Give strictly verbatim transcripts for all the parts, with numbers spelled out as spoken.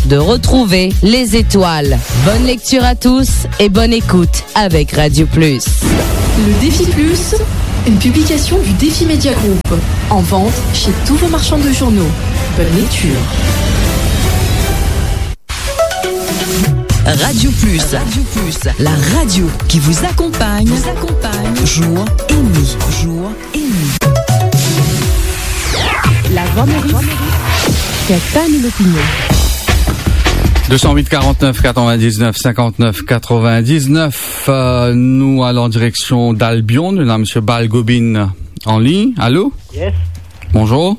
de retrouver les étoiles. Bonne lecture à tous et bonne écoute avec Radio Plus. Le Défi Plus, une publication du Défi Média Group. En vente chez tous vos marchands de journaux. Bonne lecture. Radio Plus. Radio Plus, la radio qui vous accompagne, vous accompagne, jour et nuit, jour et nuit. La Voix Maurice, c'est pas une opinion. Deux cent huit quarante-neuf quatre-vingt-dix-neuf cinquante-neuf quatre-vingt-dix-neuf, euh, nou al an direksion d'Albion, nou ena Monsieur Balgobin an lign. Allô ? Yes. Bonjour.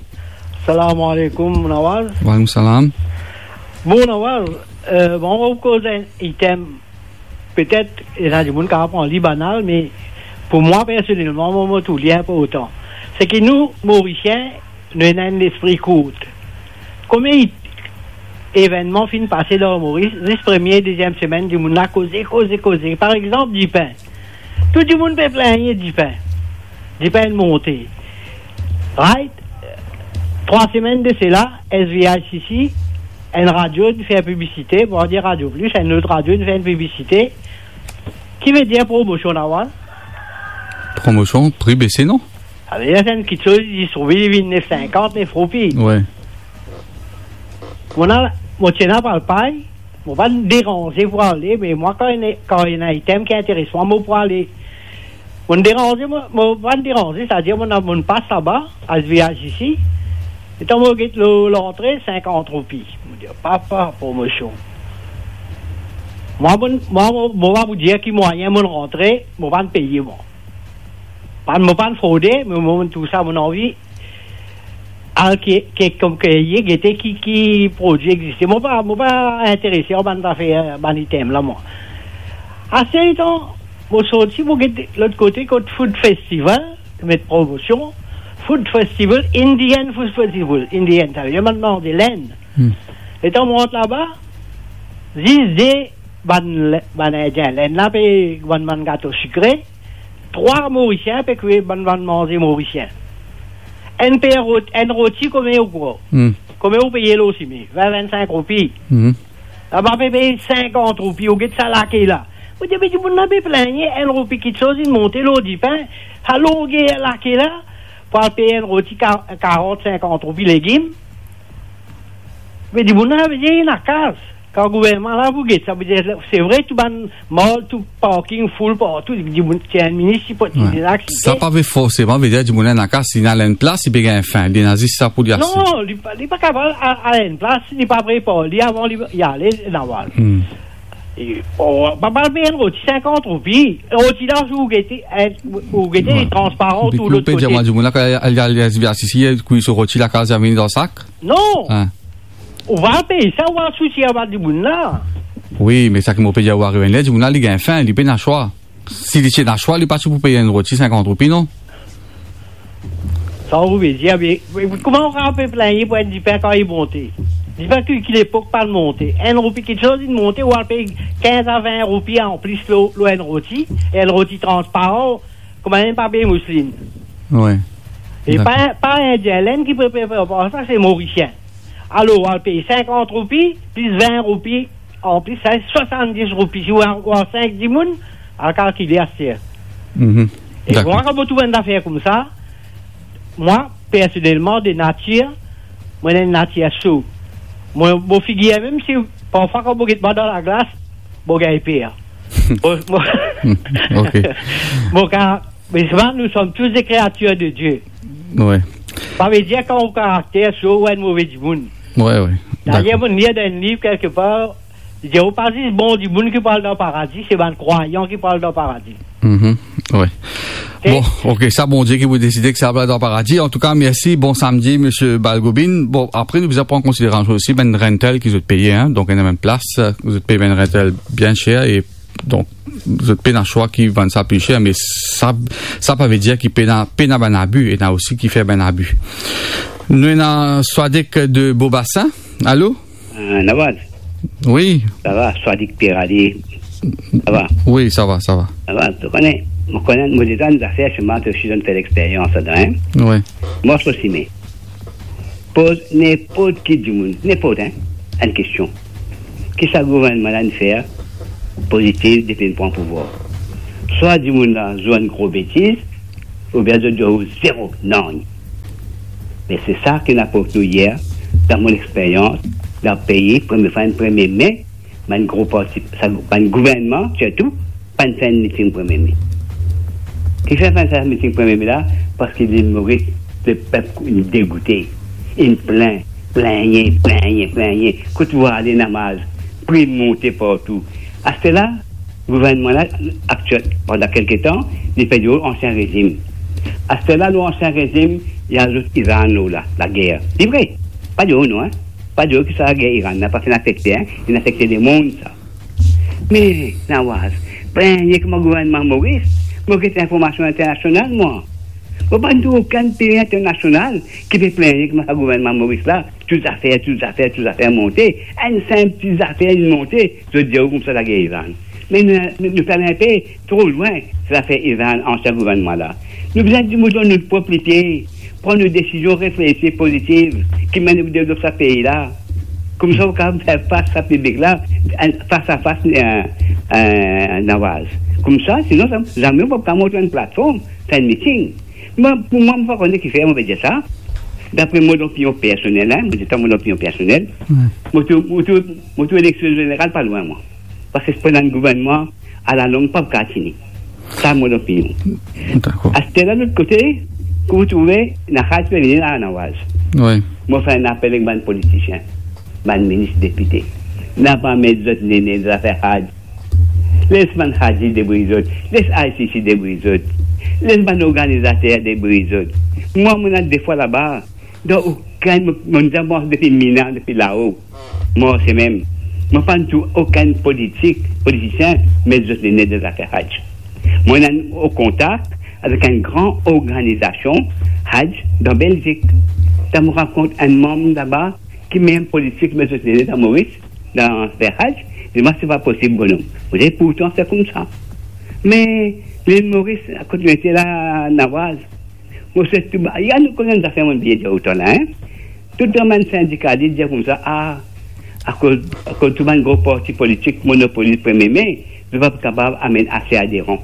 Salam alaikum, Nawaz. Wa alaikum salam. Bon, Nawaz, euh, bon, on va causer un item. Petet ena dimoun kapav pran li banal, me pou mwa personelman, mo, mo trouv li inportan. Se ki nou, Morisien, nou ena enn lespri kourt. Komie evennman finn pase dan Moris, zis premie, deziem semenn, dimoun la koze, koze, koze. Par exanp, dipin. Tou dimoun pe pligne dipin. Dipin inn monte. Right? Trwa semenn de sela, S V I C C, enn radio inn fer piblisite, bon, dir Radio Plus, enn lot radio inn fer enn piblisite. Ki vedir promosion, Nawaz? Promosion, pri bese, non? Savedir, se enn kiksoz, li trouve li vinn nef sinkant, nef roupi. Wi. Mo ena, mo ti ena pral pay, mo pa deranze pou ale, me mwa, kan ena, kan ena item ki interes mwa, mo pou ale. Mo deranze, mo, mo pa deranze, setadir mo, mo pas laba, S V I C C, letan mo get lor lantre, sinkant roupi. Mo dir, "Papa, promosion." Mwa, mo, mwa, mo, mo pa pou dir ki mwayin mo rantre, mo pa peye, mwa. Pa, mo pa frode, me mo, mo, tou sa, mo anvi al ki, ki, kom ki ye, gete ki, ki prodwi existe. Mo pa, mo pa interese ar bann zafer, bann item la, mwa. Aster letan mo sorti, mo get lot kote kot Food Festival, met promosion, Food Festival, Indian Food Festival, Indian, savedir bann manze Lenn. Hmm. Letan mo rant laba, zis de bann, bann Indien Lenn la pe, bann, bann gato sikre, trwa Morisien pe kwi bann, bann manze morisien. Enn per rot-, enn roti, komie ou krwar? Hmm. Komie ou peye lor sime? Vin, vinn-sink roupi. Hmm. Laba pe peye sinkant roupi, ou get sa lake la. Mo dir, me dimoun la pe pligne, enn roupi kiksoz, inn monte lor dipin, sa longer lake la, pou al peye enn roti ka-, karant, sinkant roupi legim. Me dimoun la, vedir, ena kas. Kan gouvernman la pou get sa, vedir, se vre, tou bann mall, tou parking full partou, dimoun, ti enn minit, ti pou, ti... Wi. Sa pa ve forseman vedir dimoun la ena kas, li al enn plas, li pe gagn fin, li ena zis sa pou li aste. Non, li pa, li pa kapav al, al enn plas, li pa prepar li avan li, li ale, Nawaz. Hmm. E, oh, pa, pa peye enn roti sinkant roupi. Roti la, ou gete, eh, ou gete, wi, li transparan tou lot kote. Depi ou pe dir mwa dimoun la, kan al, al, al, al, kwi so roti lakaz, li vinn dan sak? Non. Hein. Ou pa peye sa, ou pa sousi anba dimoun la. Wi, me sa ki mo pe dir, ou arive enn ler, dimoun la, li gagn fin, li pena swa. Si li ti ena swa, li pa ti pou peye enn roti sinkant roupi, non? Sa ou ve dir, me, me kouma ou kapav pe pligne pou enn dipin kan li monte? Dipin ki, ki lepok pa monte. Enn roupi kiksoz, li monte, ou al pey kinz a vin roupi anplis lor, lor enn roti, enn roti transparan, kouma enn papie mouslin. Wi. E pa, dakor, pa Indien Lenn ki pe, pe, pe, pe, sa, se Morisien. Alor, ou al pey sinkant roupi, plis vin roupi, anplis, sa swasanndiz roupi. Si ou a, ou a sink dimoun, al kalkile aster. Mhm. E dakor. Mwa, kan mo trouv enn zafer koumsa, mwa, personelman, de natir, mo ena enn natir so. Mo, mo figir, mem si parfwa, kan mo get mwa dan laglas, mo gagn per. Mo, mo, ok. Mo ka, me sa, nous sommes tous des créatures de Dieu. Wi. Sa ve dir, kan ou karakter so, ou enn move dimoun. Wi, wi. Dayer, dakor, mo lir dan enn liv kelkepar, li dir, ou pa zis bon dimoun ki pou al dan paradi, se bann krwayan ki pou al dan paradi. Mhm, wi. Ok. Bon, ok, sa Bondie ki pou deside ki sa pou al dan paradi. Antouka, mersi, bon samdi, Misie Balgobin. Bon, apre, nou bizin pran konsiderasion osi bann rental ki zot peye, hein. Donk, ena bann plas, zot pey bann rental bien ser e donk, zot pena swa ki vann sa pli ser, me sa, sa pa ve dir ki pena, pena bann abi, ena osi ki fer bann abi. Nou ena Swadik de Bobasin. Alo? Euh, Nawaz? Wi. Sa va, Swadik Pierre Ali. Sa va? Wi, sa va, sa va. Sa va, to kone, mo kone, mo deza enn zafer, sima to osi zot fer lexperyans ladan, hein? Wi. Mwa osi, me poz ninport ki dimoun, ninport, hein? enn kestion. Ki sa gouvernman la inn fer pozitif depi li pran pouvwar? Swa dimoun la zwe enn gro betiz, oubien zot zwe zero, nanye. Me se sa ki inn aport nou yer, dan mo lexperyans, dan pei, premie fwa enn premie me, bann gro parti, sa, bann gouvernman, sirtou, pa'nn fer enn miting premie me. Kifer pa'nn fer miting premie me la? Parski Lil Moris, lepep inn degoute, inn plin, plingne, plingne, plingne. Kot ou ale, Nawaz, pri monte partou. Aster la, gouvernman la aktiel, pandan kelke tan, li pe dir ansien rezim. Aster la, nou ansien rezim, li azout Iran la, lager. Li vre, pa dir non, hein. Pa dir ki sa lager Iran la pa finn afekte, hein. Li afekte lemonn, sa. Me, Nawaz, plingne kouma gouvernman Moris, mo get linformasion internasional, mwa. Mo pa trouv okenn pei internasional ki pe plingne kouma sa gouvernman Moris la, tou zafer, tou zafer, tou zafer monte. Enn sinp ti zafer inn monte, zot dir koumsa lager Iran. Me nou, nou, nou fer enpe tro lwin, sa zafer Iran, ansien gouvernman la. Nou bizin dimoun dan nou prop lipie, pran nou desizion reflesi, pozitiv, ki mennen nou devlop sa pei la. Koumsa, ou kapav fer fas sa piblik la, enn fas a fas, euh, euh, Nawaz. Koumsa, sinon, sa, zame ou pa kapav mont enn platform, fer enn miting. Mwa, pou mwa, mo pa kone kifer mo pe dir sa. Dapre mo lopinion personel, hein, mo dir twa mo lopinion personel. Wi. Mo trouv, mo trouv, mo trouv eleksion zeneral pa lwin, mwa. Parski se pou enn gouvernman alalong pa pou kapav tini. Sa mo lopinion. Dakor. Aster la, lot kote, ki ou trouve, ena Haj pe vini la, Nawaz. Wi. Mo fer enn apel ek bann politisien, bann minis, depite. Napa met zot nene dan zafer Haj. Les bann Haji debrouy zot. Les I C C debrouy zot. Les bann organizater debrouy zot. Mwa, mo ena de fwa laba. Dan okenn, mo, mo zame mars depi Mina, depi lao. Marse mem. Mo pa trouv okenn politik, politisien met zot nene dan zafer Haj. Mo ena an kontak avek enn gran organizasion Haj dan Belzik. Kan mo rakont enn manm laba ki mem politik met zot nene dan Moris, dan zafer Haj, li dir mwa se pa posib, bonom. Mo dir pourtan se koumsa. Me Lil Moris, kot mo ete la, Nawaz, mo swet tou ba, ya nou kone enn zafer, mo bien dir otan la, hein. Tou bann sindikalis dir koumsa, ah, akoz, akoz tou bann gro parti politik monopoliz premie me, zot pa kapav amenn ase aderan.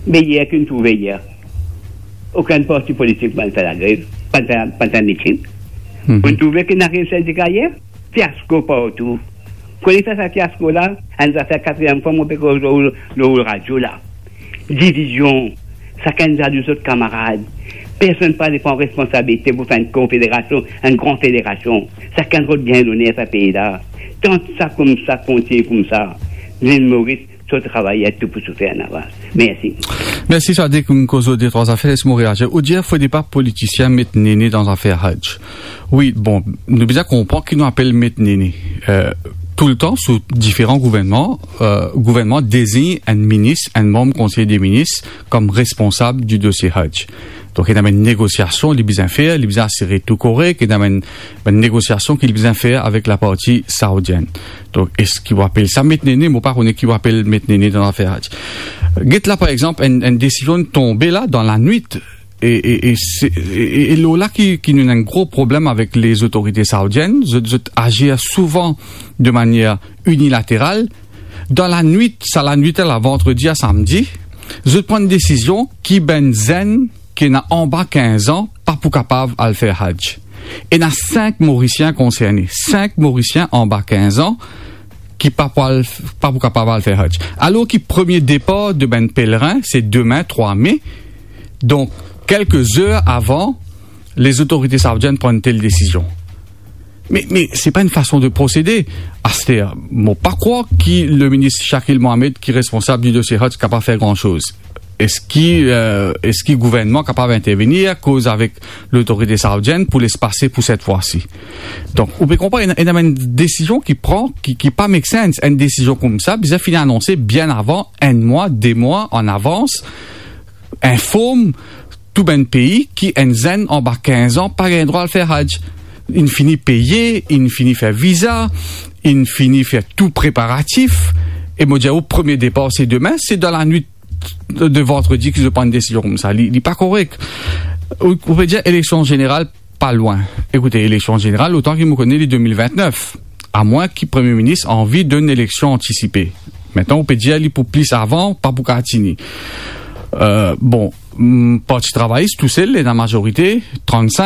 Me yer ki nou trouve yer, okenn parti politik pa'nn fer lagrev, pa'nn fer, pa'nn fer miting. Mhm. Ou trouve ki ena sindika yer? Fiasko partou. Kone sa, sa fiasko la, enn zafer katriem fwa mo pe koz lor, lor radio la. Divizion, sakenn zalou zot kamarad. Personn pa le pran responsabilite pou fer enn konfederasion, enn gran federasion. Sakenn zot gagn loner sa pei la. Tan sa koumsa kontigne koumsa, Lil Moris, so travayer tou pou soufer, Nawaz. Mersi. Mersi, Sadick, nou koz de trwa zafer, les mo reazir. Ou dir fode pa politisien met nene dan zafer Haj. Wi, bon, nou bizin konpran ki nou apel met nene. Euh, toultan, sou diferan gouvernman, euh, gouvernman dezign enn minis, enn manm konsey de minis, kom responsab di dosie Haj. Donk, ena bann negosiasion li bizin fer, li bizin asire tou korek, ena bann, bann negosiasion ki li bizin fer avek laparti saoudienn. Donk, eski ou apel sa met nene? Mo pa kone ki ou apel met nene dan zafer Haj. Get la, par exanp, enn, enn desizion tonbe la, dan lanwit, e, e, e, se, e, e, e lor la ki, ki nou ena enn gro problem avek lezotorite saoudienn. Zot, zot azir souvan de manier inilateral. Dan lanwit, sa lanwit la, vandredi a samdi, zot pran desizion ki bann zenn ki ena anba kinz an pa pou kapav al fer Haj. Ena sink Morisien konserne, sink Morisien anba kinz an ki pa pou al, pa pou kapav al fer Haj. Alor ki premie depar de bann pelerin, se demin, trwa me. Donk, kelke zer avan, lezotorite saoudienn pran enn tel desizion. Me, me se pa enn fason de prosede. Aster, mo pa krwar ki leminis Shakil Mohammed, ki responsab di dosie Haj, kapav fer gran soz. Eski, euh, eski gouvernman kapav intervenir, koz avek lotorite saoudienn pou les pase pou set fwa si? Donk, ou pe konpran, ena, ena bann desizion ki pran, ki, ki pa make sense. Enn desizion koumsa bizin finn anonse bien avan, enn mwa, de mwa an avans, inform tou bann pei ki enn zenn anba kinz an pa gagn drwa al fer Haj. Inn fini peye, inn fini fer viza, inn fini fer tou preparatif. E mo dir ou, premie depar se demin, se dan lanwit de vandredi ki zot pran enn desizion koumsa. Li, li pa korek. Ou, ou pe dir eleksion zeneral pa lwin. Ekoute, eleksion zeneral, otan ki mo kone, li de mil vintnef. amwin ki Premie Minis anvi donn eleksion antisipe. Mintnan, ou pe dir li pou plis avan, pa pou kapav tini. Euh, bon, mm, Parti Travayis tousel, li ena mazorite, trant-sink.